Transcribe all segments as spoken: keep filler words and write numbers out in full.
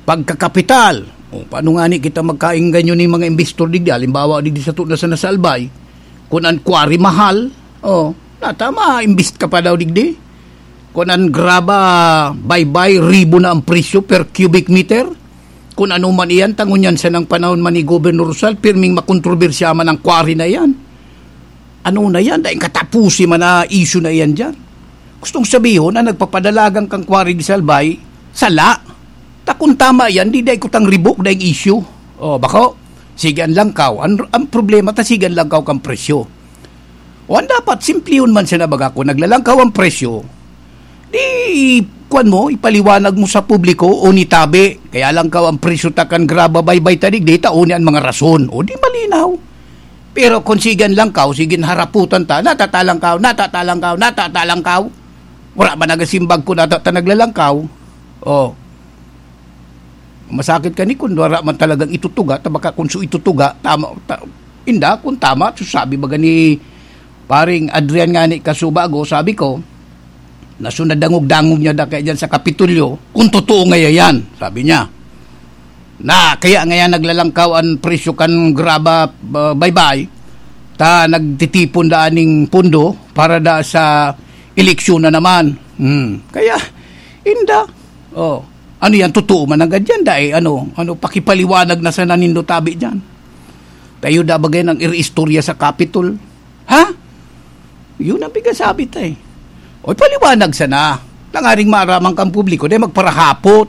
Pagkakapital. O, paano nga ni kita magkaingganyo ni mga investor digdi? Halimbawa, digdi sa tuna sa Nasalbay, kung ang quarry mahal, o, natama, invest ka pa daw digdi. Kung ang graba, baybay, ribo na ang presyo per cubic meter. Kung ano man iyan, tangon yan sa nang panahon man ni Governor Rosal, pirming makontrobersya man ang quarry na iyan. Ano na yan? Daing katapusi man na issue na iyan dyan. Gustong sabihon, ang nagpapadalagan kang quarry di Salbay, sala. Ta kung tama yan, di dai kutang ribok, daing issue. O, bako, sige ang langkaw. Ang, ang problema ta, sige ang langkaw kang presyo. O, ang dapat, simplihon man siya na baga, kung naglalangkaw ang presyo, di, kwan mo, ipaliwanag mo sa publiko, o nitabi. Kaya langkaw ang presyo ta kan graba baybay ta digdi, ta o ni ang mga rason. O, di malinaw. Pero kung sige ang langkaw, sige ang haraputan ta, natatalangkaw, natatalangkaw, natatalangkaw. Wala man nagasimbag kung nata-, ta naglalangkaw. O. Masakit ka ni kung wala man talagang itutuga, ta baka kung su itutuga, tama, ta-, inda, kung tama, su sabi baga ni Paring Adrian nga ni kasubago, sabi ko, na su nadangog-dangog niya da kaya dyan sa Kapitolyo, kung totoo nga yan, sabi niya. Na, kaya ngayon naglalangkaw ang presyo kan graba, ah, baybay, ta nagtitipon da aning pondo para da sa eleksyon na naman. Hmm. Kaya, inda, oh, ano yan, totoo man agad yan, dai, ano, ano, pakipaliwanag na sana nindo tabi dyan. Tayo da bagay ng iriistorya sa Capitol. Ha? Yun ang pigasabi ta eh. O, paliwanag sana. Tangaring maaraman kang publiko, dai magparahapot.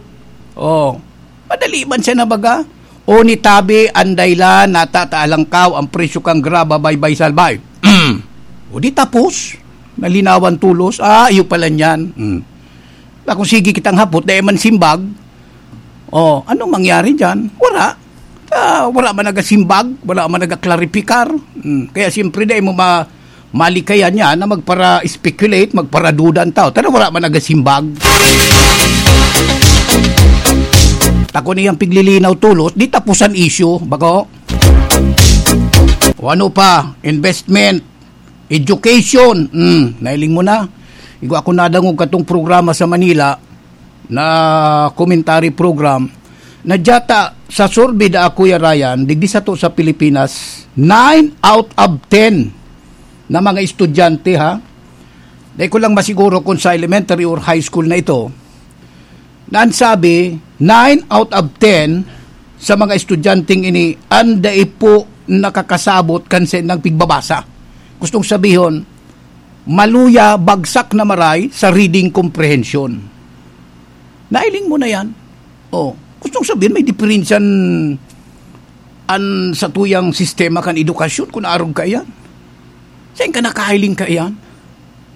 Oh, madali man siya na baga. O nitabi, anday la, natatalangkaw ang presyo kang graba, baybay, salbay. O di tapos, nalinawan tulos. Ah, iyo pala niyan. Mm. Na kung sige kitang hapot, dai man simbag. Oh, anong mangyari dyan? Wala. Ah, wala man nagasimbag, wala man nagaklaripikar. Mm. Kaya siyempre, dai mo ma-, malikayan niya na magpara-speculate, magparaduda ang tao. Tara, wala man nagasimbag. Tako niyang piglilinaw tulos, di tapusan issue, bako? O ano pa? Investment, education. Hmm, nailing mo na. Igo ako nadangog katong programa sa Manila na commentary program. Na dyata, sa survey da, Kuya Ryan, digdi sato sa Pilipinas, nine out of ten na mga estudyante, ha? Dai ko lang masiguro kung sa elementary or high school na ito, na ang sabi, nine out of ten sa mga estudyanteng ini, ang dai po nakakasabot kan saindang pigbabasa. Gustong sabihon, maluya, bagsak na maray sa reading comprehension. Nailing mo na yan. Oh, gustong sabihin, may diferensyan an satuyang sistema kan edukasyon kung arog ka iyan. Sain ka nakailing ka iyan?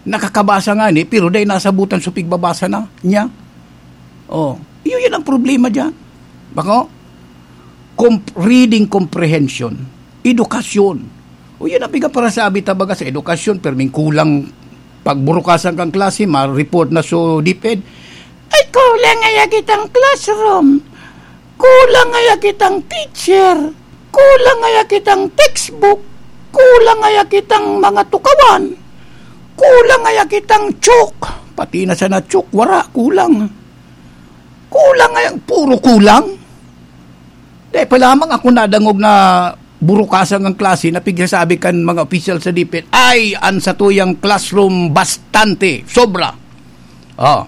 Nakakabasa nga ni, pero dai nasabutan sa pigbabasa na niya. Oh, iyo yan ang problema diyan. Bako? Comp-, reading comprehension, edukasyon. O yan ang piga para sa abi ta baga sa edukasyon, perming kulang pagburukasan kang klase, ma-report na so DepEd. Ay, kulang ay kitang classroom. Kulang ay kitang teacher. Kulang ay kitang textbook. Kulang ay kitang mga tukawan. Kulang ay kitang chok. Pati na sana chok, wara, kulang. Kulang ay, puro kulang. Dai pa lamang ako nadangog na burukasan ang klase na pigsasabi kan mga opisyal sa DepEd, "Ay, an satuyang classroom bastante, sobra." Oh.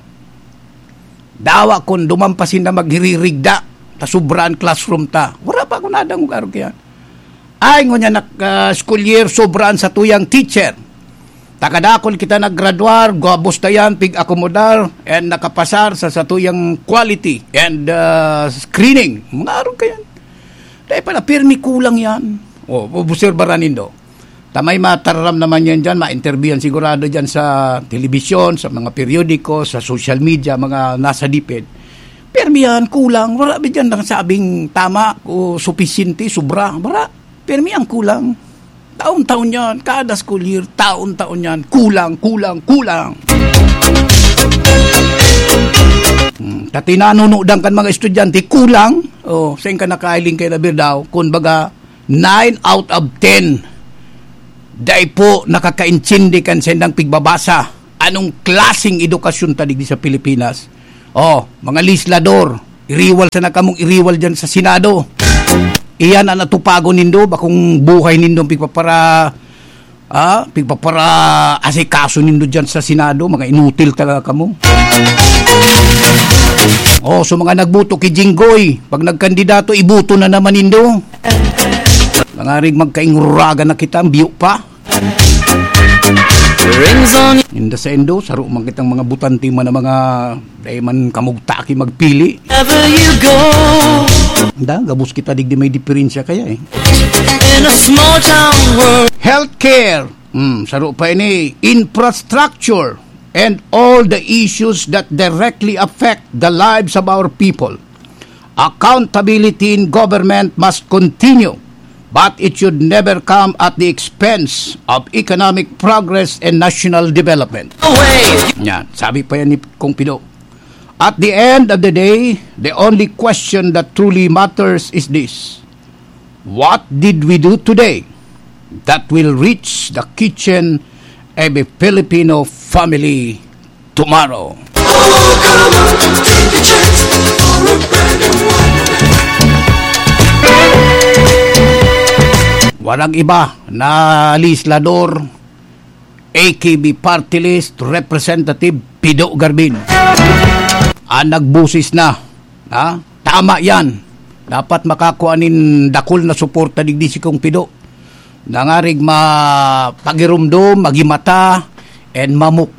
Dawa kun duman pa sinda maghiririgda, ta sobra an classroom ta. Wala pa ako nadangog arog kaya. Ay, ngunyan na, ah, school year, sobra an satuyang teacher. Takadakul kita naggraduar, gabos ta yan, pig-akomodar, and nakapasar sa satuyang quality and, ah, screening. Mga arog ka yan. Dahil pala, pirmi kulang yan. O, obserbaran nindo. Tamay mataram naman yan dyan, ma-interview yan sigurado dyan sa telebisyon, sa mga periodiko, sa social media, mga nasa DepEd. Pirmi yan, kulang. Wala ba dyan nasabing tama o supisyente, sobra? Wala. Pirmi ang kulang. Taon-taon yan. Kada school year, taon-taon yan. Kulang, kulang, kulang. Hmm, ta tinanunudan kan mga estudyante, kulang. Oh, sain ka nakailing kay Labir daw? Kun baga, nine out of ten, dai po nakakaintindi kan sendang pigbabasa. Anong klaseng edukasyon ta digdi sa Pilipinas? Oh, mga legislador, Iriwal sana kamong iriwal dyan sa Senado. Iyan ang atupagon nindo, bakong buhay nindo pigpapara, ah, pigpapara asikaso nindo dyan sa Senado, mga inutil talaga kamo. Oh, so mga nagboto kay Jinggoy, pag nagkandidato, iboto na naman nindo. Nangarig magkainguragan na kita, ang biyo pa. Rings on Inda sa Indo, saro man kitang mga butante man ang mga dai man kamugtaki magpili. Wherever you go, Da, gabos kita digdi may diferensya kaya eh. In a small town world. Healthcare, hmm, saro pa ini, infrastructure, and all the issues that directly affect the lives of our people. Accountability in government must continue, but it should never come at the expense of economic progress and national development. Yan, sabi pa yan ni Kong Pido. At the end of the day, the only question that truly matters is this: what did we do today that will reach the kitchen of a Filipino family tomorrow? Walang iba na legislador, A K B Party List Representative Pido Garbin. Ang nagbusis na, ha? Tama yan. Dapat makakuha nin dakul na suporta digdi si Kong Pido. Nangarig mapagirumdom, magimata, and mamuk